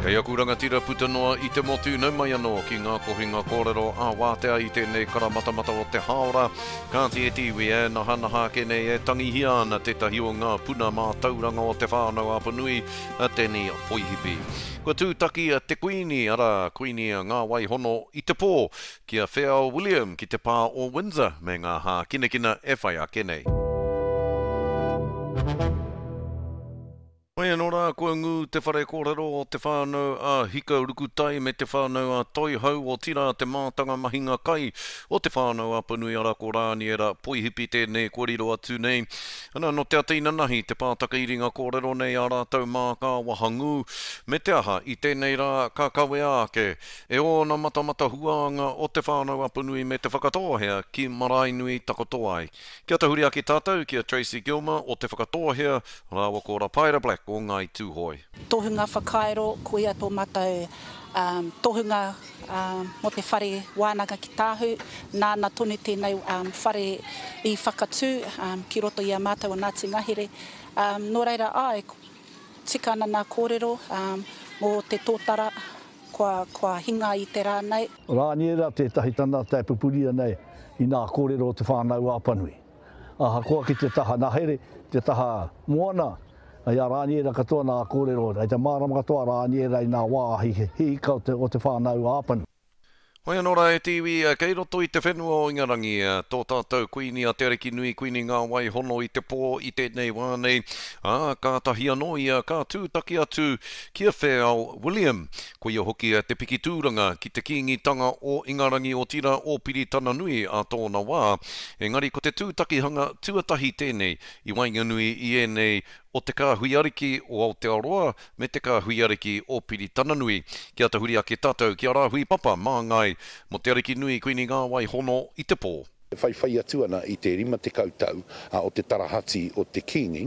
Kei aku rangatira puta noa i te motu, nau mai anō ki ngā kohinga kōrero ā-wātea i tēnei karamatamata o te hāora. Kāti e te iwi e nahanaha ake nei e tangihia ana tētahi o ngā puna mātauranga o Te Whānau-a-Apanui, a Danny Poihipi. Kua tūtaki te Kuini, arā, Kuini Ngāwaihono i te pō, ki a Wheao William ki te pā o Windsor me ngā hākinakina e whai ake nei. Mai anō rā kua ngū te whare kōrero o Te Whānau a Hika Rukutai me Te Whānau a Toihau, otirā te mātanga mahinga kai o Te Whānau Apanui arā ko Rāniera Poihipi tēnei kua riro atu nei. Ana, nō te ata inanahi te pātaka iringa kōrero nei a rātou mā ka wahangū, me te aha i tēnei rā ka kawea ake e ōna matamata huānga o Te Whānau Apanui me Te Whakatōhea ki Maraenui takoto ai. Kia tahuri ake tātou ki a Tracey Gilmer o Te Whakatōhea rāua ko Rapaera Black o Ngāi Tūhoe. Tohunga whakairo, koia tō mātou tohunga mō te whare wānanga ki Tāhu, nāna tonu tēnei whare i whakatū ki roto i a mātou o Ngāti Ngahere. Nō reira, āe, tika ana nā kōrero mō te tōtara Kua, kua hinga i te rā nei. Rāniera tētahi tangata e pupuri ana i nā kōrero o Te Whānau-a-Apanui. Ahakoa ki te taha ngahere, te taha moana, i a Rāniera katoa nā kōrero, i te mārama katoa a Rāniera i nā wāhi hihika o Te Whānau-a-Apanui. Hoi anō rā e te iwi, kei roto i te whenua o Ingarangi, tō tātou Kuini a Te Arikinui Kuini Ngāwai Hono i te pō i tēnei wā nei, ā, kātahi anō ia ka tūtaki atu ki a Wheao William. Koia hoki te piki tūranga ki te Kīngitanga o Ingarangi otirā o Piritananui ā tōna wā, engari ko te tūtakihanga tuatahi tēnei i waenganui i ēnei o Te Kāhui Ariki o Aotearoa me Te Kāhui Ariki o Piritananui. Kia tahuri ake tātou ki a Rāhui Papa māngai mō Te Arikinui Kuini Ngāwai Hono i te pō. E whaiwhai atu ana i te 50 tau o te tarahati o te Kīngi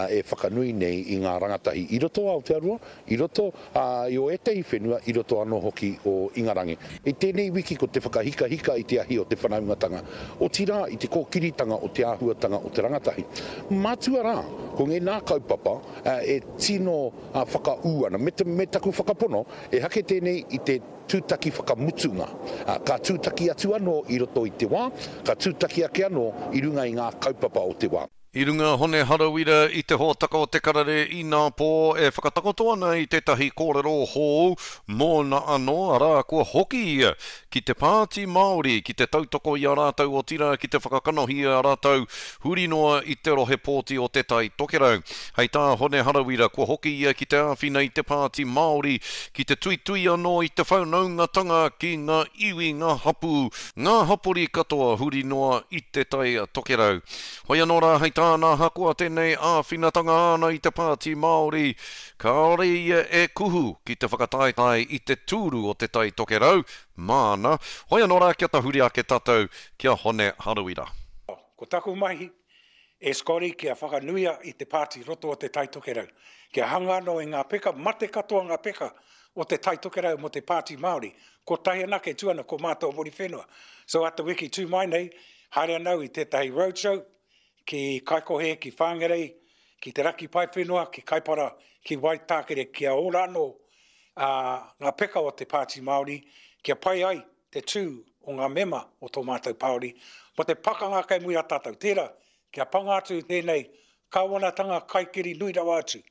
e whakanui nei i ngā rangatahi i roto o Aotearoa, i roto i o ētahi whenua, i roto anō hoki o Ingarangi. I tēnei wiki ko te whakahikahika i te ahi o te whanaungatanga, otirā i te kōkiritanga o te āhuatanga o te rangatahi. Mātua rā, ko ngēnā kaupapa e tino whakaū ana, me, me taku whakapono, ehake tēnei i te tūtaki whakamutunga. Ka tūtaki atu anō i roto i te wā, ka tūtaki ake anō i runga i ngā kaupapa o te wā. I runga a Hone Harawira i te hōtaka o Te Karere inapō e whakatakoto ana i tētahi kōrero hou mōna anō, arā, kua hoki ia ki te Pāti Māori ki te tautoko i a rātou otirā ki te whakakanohi i a rātou huri noa i te rohe pōti o Te Tai Tokerau. Hei tā Hone Harawira kua hoki ia ki te āwhina i te Pāti Māori ki te tuitui anō i te whanaungatanga ki ngā iwi, ngā hapū, ngā hapori katoa huri noa i Te Tai Tokerau. Hoi anō rā, hei tāna, ahakoa tēnei āwhinatanga āna i te Pāti Māori, kāore ia e kuhu ki te whakataetae i te tūru o Te Tai Tokerau, māna. Hoi anō rā, kia tahuri ake tātou ki a Hone Harawira. Ko taku mahi e Scotty kia whakanuia i te pāti roto o Te Tai Tokerau, kia hanga anō i ngā peka, mate katoa ngā peka o Te Tai Tokerau mō te Pāti Māori, kotahi anake tū ana ko mātou o Muriwhenua. So a te wiki tū mai nei, Haere ana au i tētahi roadshow ki Kaikohe, ki Whangarei, ki Te Raki Paewhenua, ki Kaipara, ki Waitākere kia ora anō ngā peka o te Pāti Māori, kia pai ai te tū o ngā mema o tō mātou Pāori mō te pakanga kei muri a tātou. Tērā, kia panga atu tēnei kāwanatanga kaikiri nui rawa atu,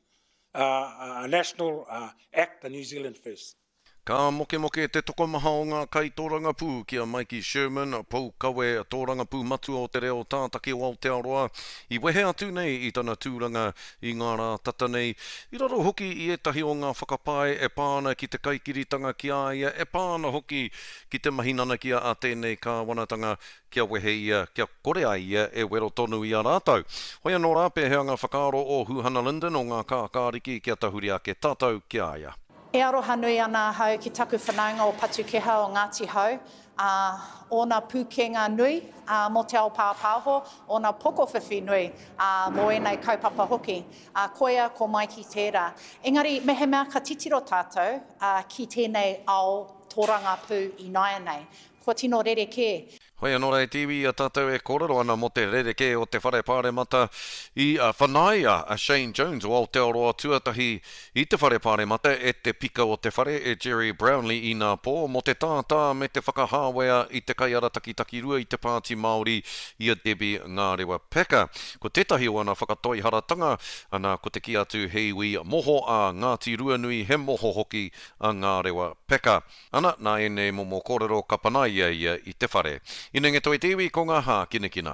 a National Act, the New Zealand First. Ka mokemoke te tokomaha o ngā kaitōrangapū ki a Maiki Sherman, poukawe tōrangapū matua o te reo tātaki o Aotearoa, i wehe atu nei i tana tūranga i ngā rā tata nei, i raro hoki i ētahi o ngā whakapae e pā ana ki te kaikiritanga ki a ia, e pā ana hoki ki te mahi nanakia a tēnei kāwanatanga kia wehe ia, kia kore ai ia e wero tonu i a rātou. Hoi anō rā, pēhea ngā whakaaro o Huhana Lyndon o ngā kākāriki kia tahuri ake tātou ki a ia? E aroha nui ana ahau ki taku whanaunga o Patukeha o Ngāti Hau, ā, ōna pūkenga nui, ā, mō te ao pāpāho, ōna pokowhiwhi nui, ā, mō ēnei kaupapa hoki. Ā, koia ko Maiki tērā. Engari, mehemea ka titiro tātou, ā, ki tēnei ao tōrangapū ināianei, kua tino rerekē. Hoi anō rā e te iwi i a tātou e kōrero ana mō te rerekē o te Whare Pāremata i whanaia a Shane Jones o Aotearoa Tuatahi i te Whare Pāremata e te Pika o te Whare e Gerry Brownlee inapō mō te tātā me te whakahāwea i te kaiarataki takirua i te Pāti Māori i a Debbie Ngārewa Packer. Ko tētahi o ana whakatoiharatanga, ana ko te kī atu he iwi moho a Ngāti Ruanui he moho hoki a Ngārewa Packer. Ana, nā ēnei momo kōrero ka panaia ia i te whare. Inenge toi te iwi ko ngā hākinakina.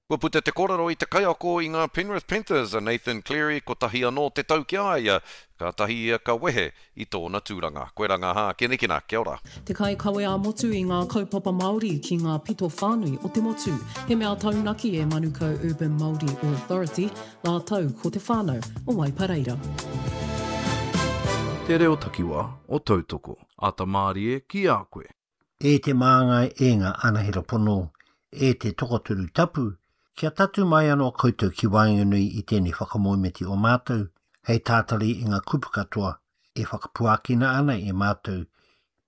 Kua puta te kōrero i te kaiako i ngā Penrith Panthers a Nathan Cleary kotahi anō te tau ki a ia, kātahi ia ka wehe i tōna tūranga. Koirā ngā hākinakina. Kia ora. Te kaikawe ā-motu i ngā kaupapa Māori ki ngā pito whānui o te motu. He mea taunaki e Manukau Urban Māori Authority rātou ko te whānau o Waipareira. Te reo takiwa o Tautoko. Ata mārie ki a koe. E te māngai, e ngā anahera pono, e te tokotoru tapu, kia tatū mai anō koutou ki waenganui i tēnei whakamoemiti o mātou, hei tātari i ngā kupu katoa e whakapuakina ana e mātou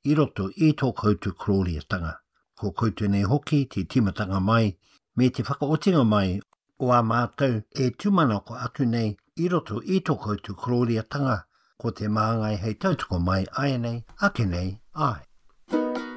i roto i tō koutou korōriatanga. Ko koutou nei hoki te tīmatanga mai me te whakaotinga mai o ā mātou e tūmanako atu nei i roto i tō koutou korōriatanga, ko te māngai hei tautoko mai āianei, ake nei, āe.